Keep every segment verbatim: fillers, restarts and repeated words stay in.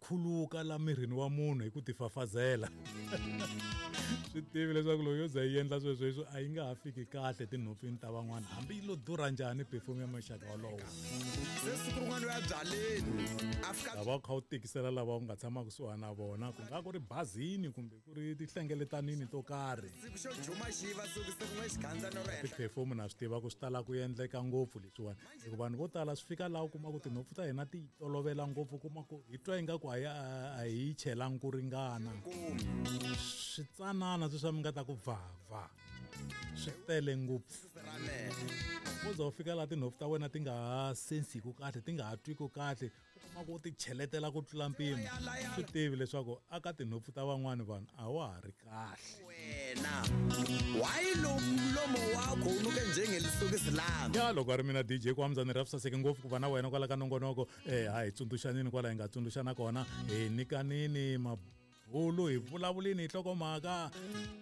khuluka la mirini wa munhu hi ku tifafazela. Swi tivi leswaku loko yo za yi endla sweswo a yi nga ha fiki kahle tinhompfini ta van'wana, hambi yi lo durha njhani perfume ya muxaka wolowo. Se siku rin'wana u ya byaleni a fika Lava u kha u tikisela lava u nga tshama kusuhani na vona, ku nga ku ri bazini kumbe ku ri tinhlengeletanini to karhi. Siku xo juma xi yiva siku siku n'we xikandza no ro henhla. Ti-perfume na swi tiva ku swi tala ku endleka ngopfu leswiwani, hikuva vanhu vo tala swi fika laha u kuma ku tinhompfu ta hina ti tolovela ngopfu, kuma ku hi twa ingaku a hi a hi chelangi ku ringana. Switsanana sweswi mi nga ta ku va va swi tele ngopfu. Wo za u fika laha tinhompfu ta wena ti nga ha sensiku kahle, ti nga ha twiku kahle, u kuma ku u ti cheletela ku tlula mpimo. Swi tivi leswaku aka tinhompfu ta van'wani vanhu a wa ha ri kahle. Wena wayi lo mlomo wakho wu nuke njengelisokisi lami. Ya loko a ri mina D J Kwamza, ni rhapsa saseke ngopfu ku va na wena kwala ka nongonoko. Eh, ha hi tsundzuxanini kwala hi nga tsundzuxana kona, hi nyikanini mabulu, hi vulavulini hi nhlokomhaka.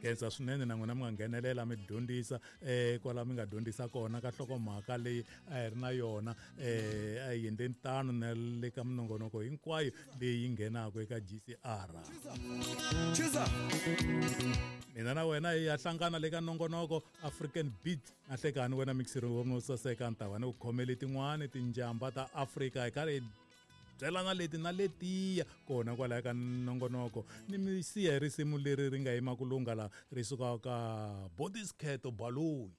Khensa swinene na n'wina mi nga nghenelela mi dyondzisa, eh, kwala mi nga dyondzisa kona ka nhlokomhaka leyi a hi ri na yona. Eh, a hi endleni tano na le ka minongonoko hinkwayo leyi nghenaka eka G C R. Chiza. Mina na wena hi ya hlangana le ka nongonoko African Beat. Na hlekani wena mixiri wa mo saseka, ni ta va ni ku khomele tin'wani tinjamba ta Afrika hi karhi hi byelana leti na letiya kona kwalaya ka nongonoko. Ni mi siya hi risimu leri ri nga yima ku lungha la ri sukaka ka Bodisketo Baloyi.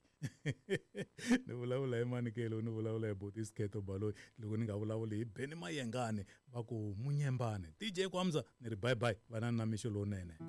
Ni vulavula hi Manikelo, ni vulavula hi Bodisketo Baloyi, loko ni nga vulavuli hi Benny Mayengani va ku Munyembane. D J Kwamza ni ri bye bye, vanani na mixo lowunene.